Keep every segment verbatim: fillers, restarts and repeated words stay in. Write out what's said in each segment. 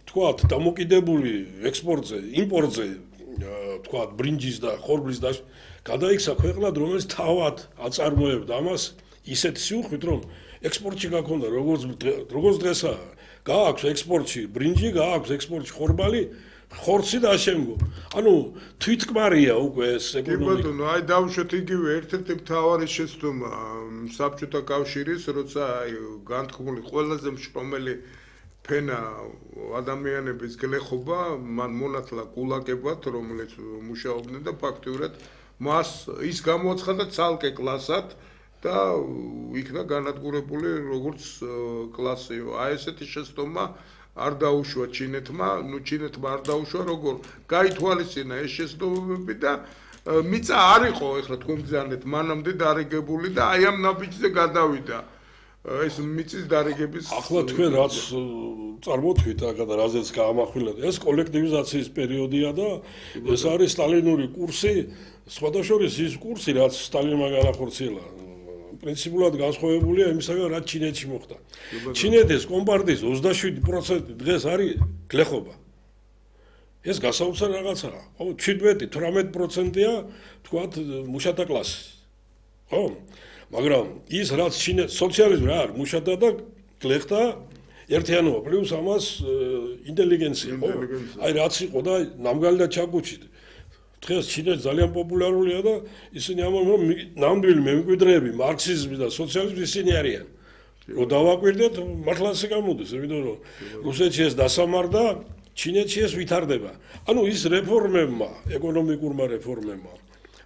თქვათ, დამოკიდებული ექსპორტზე, იმპორტზე, თქვათ, ბრინჯის და ხორბლის და გადაიქცა ქვეყნად, რომელიც თავად აწარმოებდა ამას ისეთი სიუხვით, რომ ექსპორტში გაქონდა როგორც როგორც დღესაა, გააქვს ექსპორტში ბრინჯი, გააქვს ექსპორტში ხორბალი, ხორცი და ამავდროულად. ანუ თვითკმარია უკვე ეს ეკონომიკა. კი ბატონო, აი დავუშვათ იგივე ერთ-ერთი მთავარი შეცდომა საბჭოთა კავშირის, როცა აი განთქმული ყველაზე მშრომელი ფენა ადამიანების გლეხობა, მან მონათლა გულაგებად, რომელიც მუშაობდნენ და ფაქტიურად მას ის გამოაცხადა ცალკე კლასად და იქნა განადგურებული როგორც კლასიო. აი ესეთი შეცდომა არ დაუშვა ჩინეთმა, ნუ ჩინეთმა არ დაუშვა როგორ გაითვალისწინა ეს შეცდომები და მიწა არ იყო ეხლა თქვენ ბრძანეთ მანამდე დარიგებული და აი ამ ნაბიჯზე გადავიდა ეს მიწის დარიგების ახლა თქვენ რაც წარმოთქვით აქ და რაზეც გაამახვილეთ ეს კოლექტივიზაციის პერიოდია და ეს არის სტალინური კურსი სხვადასხვა ის კურსი რაც სტალინმა განახორციელა პრინციპულად განსხვავებულია იმისაგან რაც ჩინეთში მოხდა. ჩინეთის კომპარტიის ოცდაშვიდი პროცენტი დღეს არის გლეხობა. ეს გასაოცარ რაღაცაა. ხო, შვიდმეტი თვრამეტი პროცენტია თქვათ მუშათა კლასი. ხო? მაგრამ ის რაც ჩინეთ სოციალიზმი რა არის, მუშათა და გლეხთა ერთიანობა პლუს ამას ინტელიგენცია, ხო? აი რაც იყო და ნამგალი და ჩაკუჩი დღეს ჩინეთი ძალიან პოპულარულია და ისინი ამბობენ რომ ნამდვილი მემკვიდრეები მარქსიზმის და სოციალიზმის ისინი არიან. რომ დავაკვირდეთ, მართლა ასე გამოდის, იმიტომ რომ რუსეთში ეს დასამარდა, ჩინეთში ეს ვითარდება. ანუ ის რეფორმებმა, ეკონომიკურმა რეფორმებმა,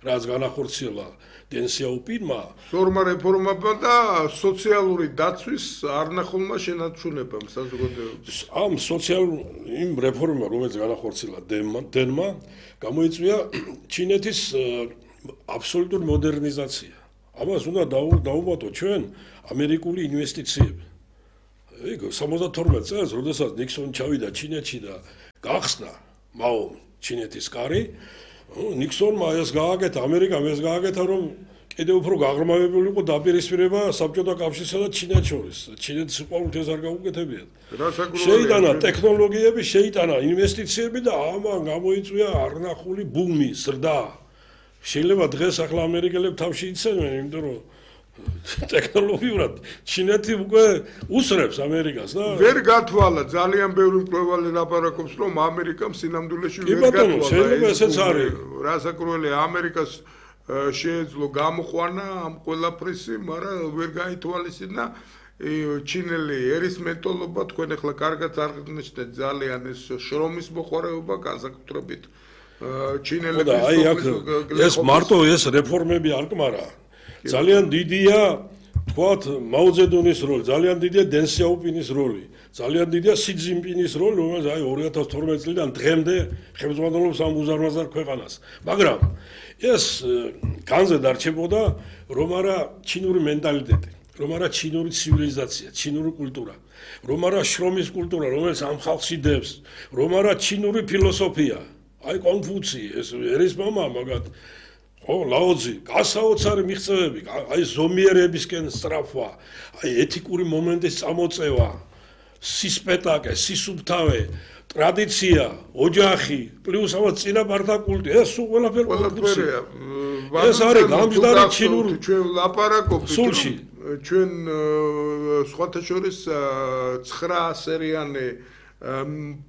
რაც განახორციელა დენ სიაოპინმა, სორმა რეფორმებმა და სოციალური დაცვის არნახულმა შენარჩუნებამ საზოგადოებას. ამ სოციალურ იმ რეფორმებმა, რომელიც განახორციელა დენმა, გამოიწვია ჩინეთის აბსოლუტური მოდერნიზაცია. ამას უნდა დაუვატო ჩვენ ამერიკული ინვესტიციები. ეგ სამოცდათორმეტ წელს, როდესაც ნიქსონი ჩავიდა ჩინეთში და გახსნა მაომ ჩინეთის კარი, ნიქსონმა ეს გააკეთა, ამერიკამ ეს გააკეთა, რომ კიდევ უფრო გაღრმავებული იყო დაპირისპირება საბჭოთა კავშირსა და ჩინეთს შორის. ჩინეთის უყურთ ეს არ გაუკეთებიათ. შეიტანა ტექნოლოგიები, შეიტანა ინვესტიციები და ამან გამოიწვია არნახული ბუმი, ზრდა. შეიძლება დღეს ახლა ამერიკელები თავში იცენენ, იმიტომ რომ ტექნოლოგიურად ჩინეთი უკვე უსრებს ამერიკას და ვერ გათვალა ძალიან ბევრი მკვლევარი ლაპარაკობს რომ ამერიკამ სინამდვილეში ვერ გათვალა. შეიძლება ესეც არის. რასაკურველია ამერიკას შეეძლო გამოყვანა ამ ყველაფრისი, მაგრამ ვერ გაითვალისწინა ჩინელი ერისმეტოლობა თქვენ ახლა კარგად აღნიშნეთ ძალიან ეს შრომის მოყვარეობა განსაკუთრებით ჩინელების აი აქ ეს მარტო ეს რეფორმები არ კმარა. ძალიან დიდია თქვათ მაოძედუნის როლი, ძალიან დიდია დენ სიაოპინის როლი, ძალიან დიდია სი ძინპინის როლი, რომელიც აი ორი ათას თორმეტი წლიდან დღემდე ხელმძღვანელობს ამ უზარმაზარ ქვეყანას. მაგრამ ეს განზე დარჩებოდა რომ არა ჩინური მენტალიტეტი, რომ არა ჩინური ცივილიზაცია, ჩინური კულტურა, რომ არა შრომის კულტურა, რომელიც ამ ხალხს იდევს, რომ არა ჩინური ფილოსოფია, აი კონფუცი, ეს ერის მამა მაგათ ო ლაოძი, გასაოცარი მიღწევები, აი ზომიერებისკენ სწრაფვა, აი ეთიკური მომენტის წამოწევა, სისპეტაკე, სისუფთავე, ტრადიცია, ოჯახი, პლუს ამას წინაპართა კულტი, ეს სულ ყველაფერი ყველაფერია. ეს არის გამჯდარი ჩინური ჩვენ ლაპარაკობთ სულში. ჩვენ სხვათა შორის ცხრა სერიანი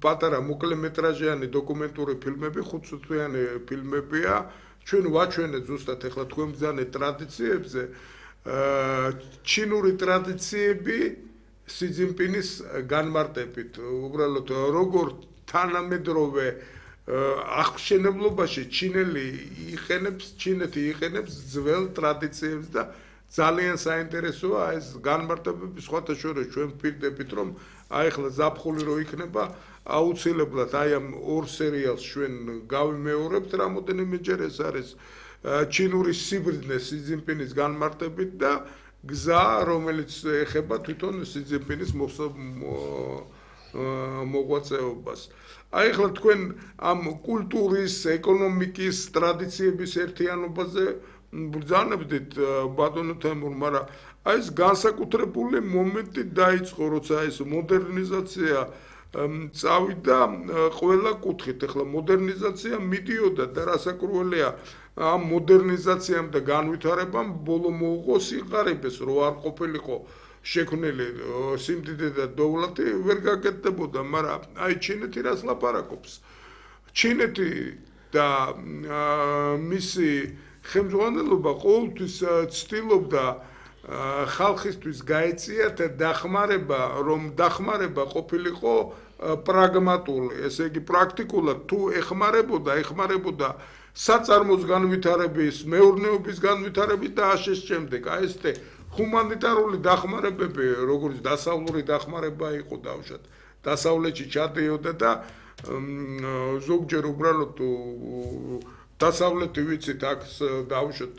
პატარა მოკლემეტრაჟიანი დოკუმენტური ფილმები, ხუთწუთიანი ფილმებია. ჩვენ ვაჩვენეთ ზუსტად ახლა თქვენ ბრძანეთ ტრადიციებზე, ჩინური ტრადიციები სი ძინპინის განმარტებით, უბრალოდ როგორ თანამედროვე აღშენებლობაში ჩინელი იყენებს, ჩინეთი იყენებს ძველ ტრადიციებს და ძალიან საინტერესოა ეს განმარტებები სხვათა შორის ჩვენ ვფიქრდებით რომ აი ახლა ზაფხული რო იქნება აუცილებლად აი ამ ორ სერიალს ჩვენ გავიმეორებთ რამოდენიმეჯერ ეს არის ჩინური სიბრძნე სი ძინპინის განმარტებით და გზა რომელიც ეხება თვითონ სი ძინპინის მოღვაწეობას. აი ახლა თქვენ ამ კულტურის, ეკონომიკის, ტრადიციების ერთიანობაზე ბრძანებდით ბატონო თემურ, მაგრამ აი ეს განსაკუთრებული მომენტი დაიწყო, როცა ეს მოდერნიზაცია წავიდა ყველა კუთხით. ეხლა მოდერნიზაცია მიდიოდა და რასაკურველია ამ მოდერნიზაციამ და განვითარებამ ბოლო მოუღო სიყარიბეს, რო არ ყოფილიყო შექმნილი სიმდიდე და დოვლათი ვერ გაკეთდებოდა, მაგრამ აი ჩინეთი რას ლაპარაკობს? ჩინეთი და მისი ხელმძღვანელობა ყოველთვის ცდილობდა ხალხისთვის გაეწიათ დახმარება, რომ დახმარება ყოფილიყო პრაგმატული, ესე იგი პრაქტიკულად თუ ეხმარებოდა, ეხმარებოდა საწარმოს განვითარების, მეურნეობის განვითარების და ასე შემდეგ. აი ესე ჰუმანიტარული დახმარებები, როგორც დასავლური დახმარება იყო დავშად. დასავლეთში ჩადიოდა და ზოგჯერ უბრალოდ დასავლეთი ვიცით აქ დავშოთ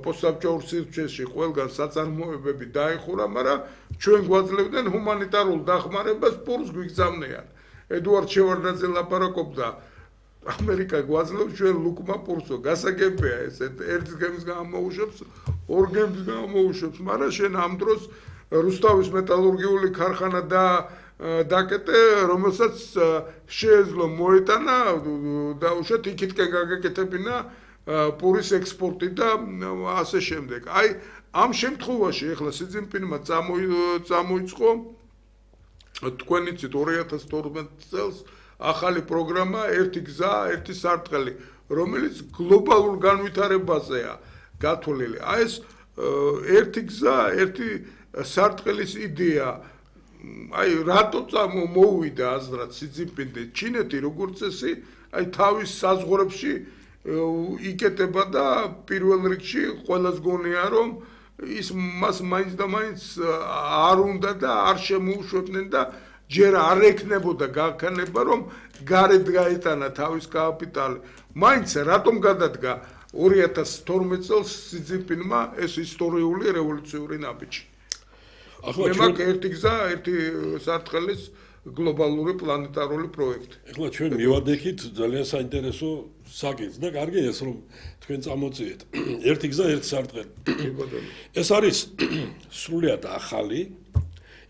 პოსტსაბჭოურ სივრცეში ყველგან საწარმოებები დაიხურა, მაგრამ ჩვენ გვაძლევდნენ ჰუმანიტარულ დახმარებას პურს გვიგზავნიან. ედუარდ შევარდნაძე ლაპარაკობდა ამერიკა გვაძლევს ჩვენ ლუკმა პურსო, გასაგებია ეს ერთ გემს გამოუშვებს, ორ გემს გამოუშვებს, მაგრამ შენ ამ დროს რუსთავის მეტალურგიული ქარხანა და დაკეტე, რომელსაც შეეძლო მოეტანა და უშოთ იქითკენ გაგეკეთებინა პურის ექსპორტი და ასე შემდეგ. აი ამ შემთხვევაში ეხლა სი ძინპინმა წამოიწყო თქვენ იცით ორი ათას თორმეტ წელს ახალი პროგრამა ერთი გზა, ერთი სარტყელი, რომელიც გლობალურ განვითარებაზეა გათვლილი. აი ეს ერთი გზა, ერთი სარტყელის იდეა აი რატო მოუვიდა აზრად სი ძინპინი ჩინეთი როგორც წესი აი თავის საზღვრებში იკეთება და პირველ რიგში ყველას გონია რომ ის მას მაინც და მაინც არ უნდა და არ შემოუშვებდნენ და ჯერ არ ეკნებოდა გაქანება რომ გარეთ გაეტანა თავის კაპიტალი. მაინც რატომ გადადგა ორი ათას თორმეტ წელს სი ძინპინმა ეს ისტორიული რევოლუციური ნაბიჯი. ახლა ჩვენ ერთი გზა, ერთი სარტყელის გლობალური პლანეტარული პროექტი. ახლა ჩვენ მივადექით ძალიან საინტერესო საკითხს და კარგი ეს რომ თქვენ წამოწიეთ. ერთი გზა, ერთი სარტყელი. ეს არის სრულიად ახალი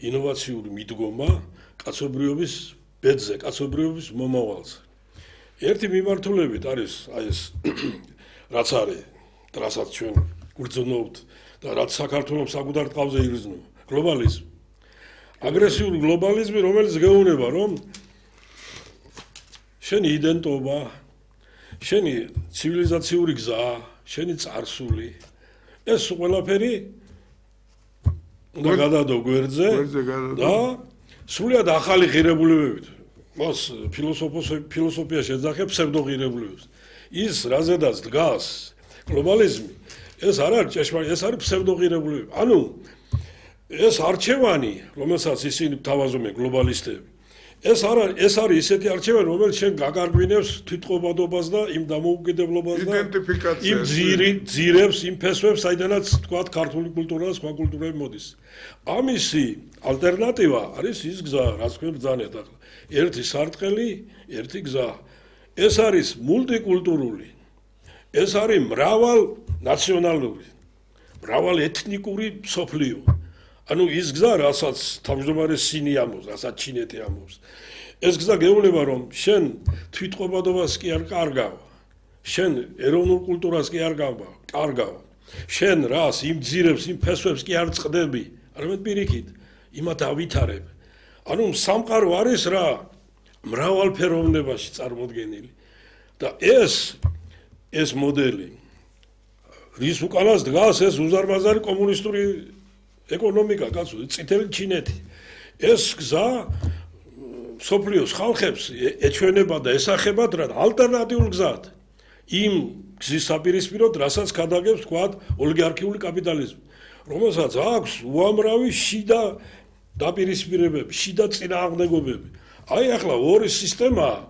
ინოვაციური მიდგომა კაცობრიობის ბედზე, კაცობრიობის მომავალზე. ერთი მიმართულებით არის აი ეს რაც არის, რასაც ჩვენ გვგრძნობთ და რაც საქართველოს საკუთარ ტყავზე იგრძნობა. გლობალიზმი. აგრესიული გლობალიზმი, რომელიც გეუბნება, რომ შენი იდენტობა, შენი ცივილიზაციური გზა, შენი წარსული, ეს ყველაფერი უნდა გადადო გვერდზე და სრულიად ახალი ღირებულებებით. მას ფილოსოფია შეძახებს ფსევდოღირებულებებს. ის რაზედაც დგას გლობალიზმი, ეს არ არის ჭეშმარიტი, ეს არის ფსევდოღირებულებები. ანუ ეს არჩევანი, რომელსაც ისინი თავაზობენ გლობალისტები, ეს არის ეს არის ისეთი არჩევანი, რომელიც შენ გაგარგვინებს თვითყოფადობას და იმ დამოუკიდებლობას და იმ ძირი ძირებს, იმ ფესვებს, საიდანაც თქვა ქართული კულტურა და სხვა კულტურები მოდის. ამისი ალტერნატივა არის ის გზა, რაც თქვენ ბრძანეთ ახლა. ერთი სარტყელი, ერთი გზა. ეს არის მულტიკულტურული. ეს არის მრავალ ნაციონალური, მრავალ ეთნიკური სოფლიო. ანუ ის გზა, რასაც თავმჯდომარე სინი ამბობს, რასაც ჩინეთი ამბობს. ეს გზა გეუბნება, რომ შენ თვითყოფადობას კი არ კარგავ, შენ ეროვნულ კულტურას კი არ კარგავ, შენ რას, იმ ძირებს, იმ ფესვებს კი არ წყდები, არამედ პირიქით, იმათ ავითარებ. ანუ სამყარო არის რა, მრავალფეროვნებაში წარმოდგენილი. და ეს ეს მოდელი, რის უკანას დგას ეს უზარმაზარი კომუნისტური ეკონომიკა, კაცო, წითელი ჩინეთი. ეს გზა სოფლიოს ხალხებს ეჩვენება და ესახებათ რა ალტერნატიულ გზად. იმ გზის საპირისპიროდ, რასაც გადაგებს თქვათ ოლიგარქიული კაპიტალიზმი, რომელსაც აქვს უამრავი შიდა დაპირისპირებები, შიდა წინააღმდეგობები. აი ახლა ორი სისტემა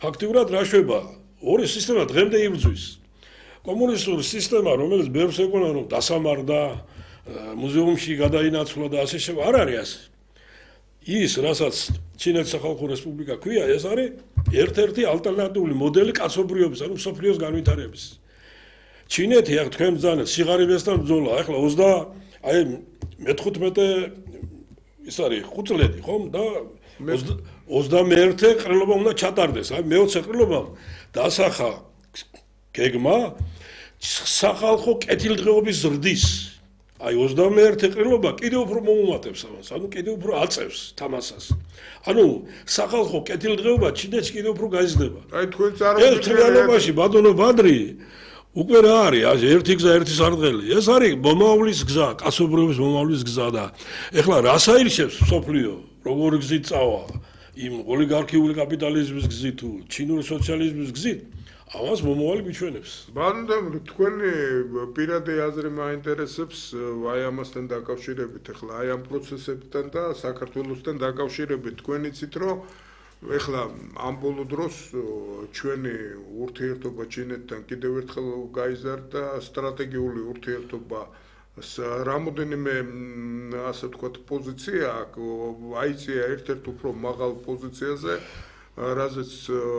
ფაქტიურად რა შვება? ორი სისტემა დღემდე იბრძვის. კომუნისტური სისტემა, რომელიც ბევრს ეკონა რომ დასამარდა, მუზეუმში გადაინაცვლა და ასე შემდეგ, არ არის ასე. ის, რასაც ჩინეთის სახალხო რესპუბლიკა ქვია, ეს არის ერთ-ერთი ალტერნატიული მოდელი კაცობრიობის, ანუ სოფლიოს განვითარების. ჩინეთი, აქ თქვენ ბრძანეთ, სიღარიბესთან ბრძოლა, ახლა ოცდა აი მეთხუთმეტე ის არის ხუთწლედი, ხომ? და ოცდამეერთე ყრილობა უნდა ჩატარდეს. აი მეოცე ყრილობამ დასახა გეგმა სახალხო კეთილდღეობის ზრდის. აი ოცდამეერთე ყრილობა კიდევ უფრო მოუმატებს ამას, ანუ კიდევ უფრო აწევს თამასას. ანუ სახალხო კეთილდღეობა ჩინეთში კიდევ უფრო გაიზრდება. აი თქვენ წარმოგიდგენთ ეს თლიანობაში ბატონო ბადრი უკვე რა არის, ერთი გზა, ერთი სარდღელი. ეს არის მომავლის გზა, კაცობრიობის მომავლის გზა და ეხლა რას აირჩევს სოფლიო, როგორი გზით წავა? იმ ოლიგარქიული კაპიტალიზმის გზით თუ ჩინური სოციალიზმის გზით? ამას მომავალი მიჩვენებს. ბატონო, თქვენი პირადი აზრი მაინტერესებს აი ამასთან დაკავშირებით, ეხლა აი ამ პროცესებთან და საქართველოსთან დაკავშირებით. თქვენ იცით, რომ ეხლა ამ ბოლო დროს ჩვენი ურთიერთობა ჩინეთთან კიდევ ერთხელ გაიზარდა, სტრატეგიული ურთიერთობა რამოდენიმე ასე ვთქვათ პოზიცია აიწია ერთ-ერთ უფრო მაღალ პოზიციაზე, რაზეც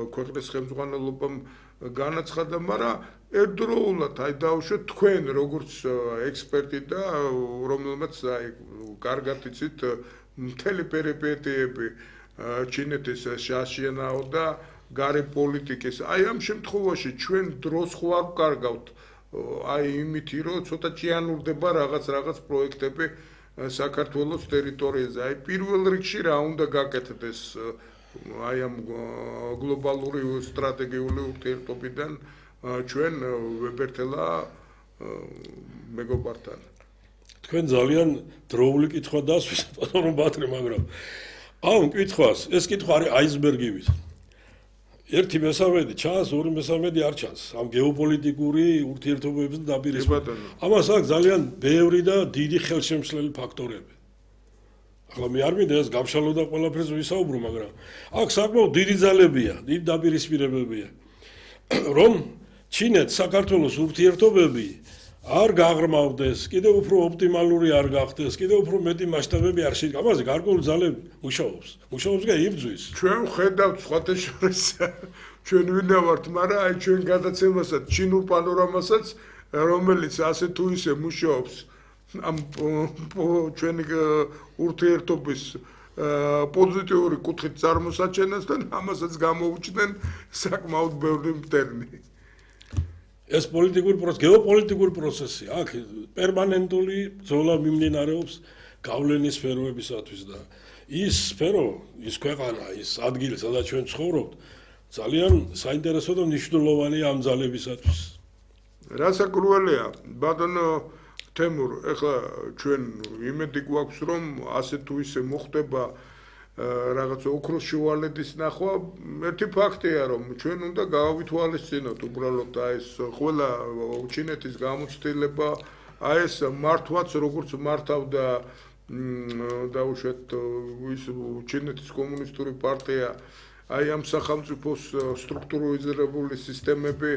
ქვეყნის ხელმძღვანელობამ განაცხადა, მაგრამ ერთდროულად აი დავუშვათ თქვენ როგორც ექსპერტი და რომელმაც აი კარგად იცით მთელი პერიპეტიები ჩინეთის შაშიანაო და გარე პოლიტიკის. აი ამ შემთხვევაში ჩვენ დროს ხო არ ვკარგავთ აი იმითი, რომ ცოტა ჭიანურდება რაღაც რაღაც პროექტები საქართველოს ტერიტორიაზე. აი პირველ რიგში რა უნდა გაკეთდეს აი ამ გლობალური სტრატეგიული ურთიერთობიდან ჩვენ ვებერთელა მეგობართან. თქვენ ძალიან დროული კითხვა დასვით, ბატონო ბატრი, მაგრამ ამ კითხვას, ეს კითხვა არის აისბერგივით. ერთი მესამედი ჩანს, ორი მესამედი არ ჩანს. ამ გეოპოლიტიკური ურთიერთობების დაპირისპირება. ამას აქვს ძალიან ბევრი და დიდი ხელშემშლელი ფაქტორები. ახლა მე არ მინდა ეს გავშალო და ყველაფერს ვისაუბრო, მაგრამ აქ საკმაოდ დიდი ძალებია, დიდი დაპირისპირებებია. რომ ჩინეთ საქართველოს ურთიერთობები არ გაღრმავდეს, კიდევ უფრო ოპტიმალური არ გახდეს, კიდევ უფრო მეტი მასშტაბები არ შეიძლება. ამაზე გარკვეული ძალები მუშაობს. მუშაობს და იბრძვის. ჩვენ ხედავთ სხვათა შორის ჩვენ ვინა ვართ, მაგრამ აი ჩვენ გადაცემასაც, ჩინურ პანორამასაც, რომელიც ასე თუ ისე მუშაობს ამ ჩვენი ურთიერთობის პოზიტიური კუთხით წარმოსაჩენასთან, ამასაც გამოუჩნდნენ საკმაოდ ბევრი მტერნი. ეს პოლიტიკური პროცესი, გეოპოლიტიკური პროცესი, აქ პერმანენტული ბრძოლა მიმდინარეობს გავლენის სფეროებისათვის და ის სფერო, ის ქვეყანა, ის ადგილი, სადაც ჩვენ ცხოვრობთ, ძალიან საინტერესო და მნიშვნელოვანია ამ ძალებისათვის. რასაკურველია, ბატონო თემურ, ეხლა ჩვენ იმედი გვაქვს, რომ ასე თუ ისე მოხდება რაღაც ოქროს შუალედის ნახვა. ერთი ფაქტია, რომ ჩვენ უნდა გავავითვალისწინოთ უბრალოდ აი ეს ყველა ჩინეთის გამოცდილება, აი ეს მართვაც როგორც მართავდა დაუშვათ ის ჩინეთის კომუნისტური პარტია, აი ამ სახელმწიფოს სტრუქტურიზებული სისტემები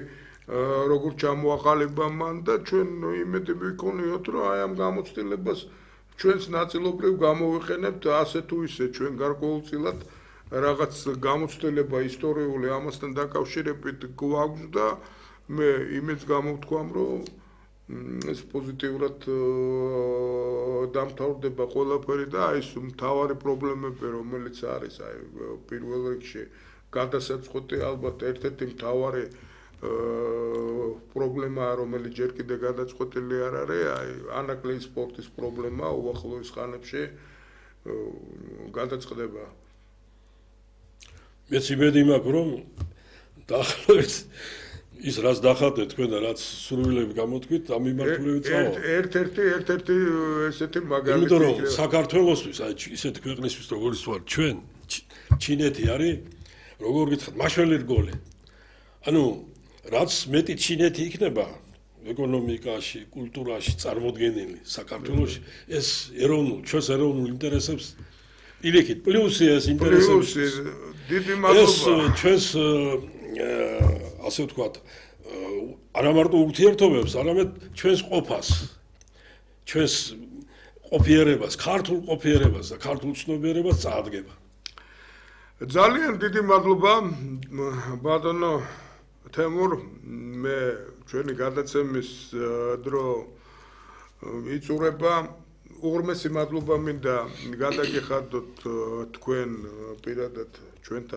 როგორც ჩამოაყალიბა მან და ჩვენ იმედი ვიქონიოთ, რომ აი ამ გამოცდილებას ჩვენს ნაწილობრივ გამოვიყენებთ ასე თუ ისე ჩვენ გარკვეულწილად რაღაც გამოცდილება ისტორიული ამასთან დაკავშირებით გვაქვს და მე იმედს გამოვთქვამ, რომ ეს პოზიტიურად დამთავრდება ყველაფერი და აი ეს მთავარი პრობლემები, რომელიც არის აი პირველ რიგში გადასაწყვეტი ალბათ ერთ-ერთი მთავარი პრობლემაა, რომელიც ჯერ კიდე გადაწყვეტილი არ არის, აი ანაკლიის სპორტის პრობლემა უახლოეს ხანებში გადაწყდება. მეც იმედი მაქვს, რომ დაახლოებით ის რაც დახატეთ თქვენ და რაც სურვილები გამოთქვით, ამ მიმართულებით წავა. ერთ-ერთი ერთ-ერთი ესეთი მაგალითი. იმიტომ რომ საქართველოსთვის, აი ისეთი ქვეყნისთვის როგორც ვარ ჩვენ, ჩინეთი არის, როგორ გითხრათ, მაშველი რგოლი. ანუ რაც მეტი ჩინეთი იქნება ეკონომიკაში, კულტურაში წარმოდგენილი საქართველოში, ეს ეროვნულ, ჩვენს ეროვნულ ინტერესებს ილიქით. პლუსი ეს ინტერესებს. დიდი მადლობა. ეს ჩვენს ასე ვთქვათ, არა მარტო ურთიერთობებს, არამედ ჩვენს ყოფას, ჩვენს ყოფიერებას, ქართულ ყოფიერებას და ქართულ ცნობიერებას წაადგება. ძალიან დიდი მადლობა, ბატონო თემურ, მე ჩვენი გადაცემის დრო იწურება, უღრმესი მადლობა მინდა გადაგიხადოთ თქვენ პირადად ჩვენთან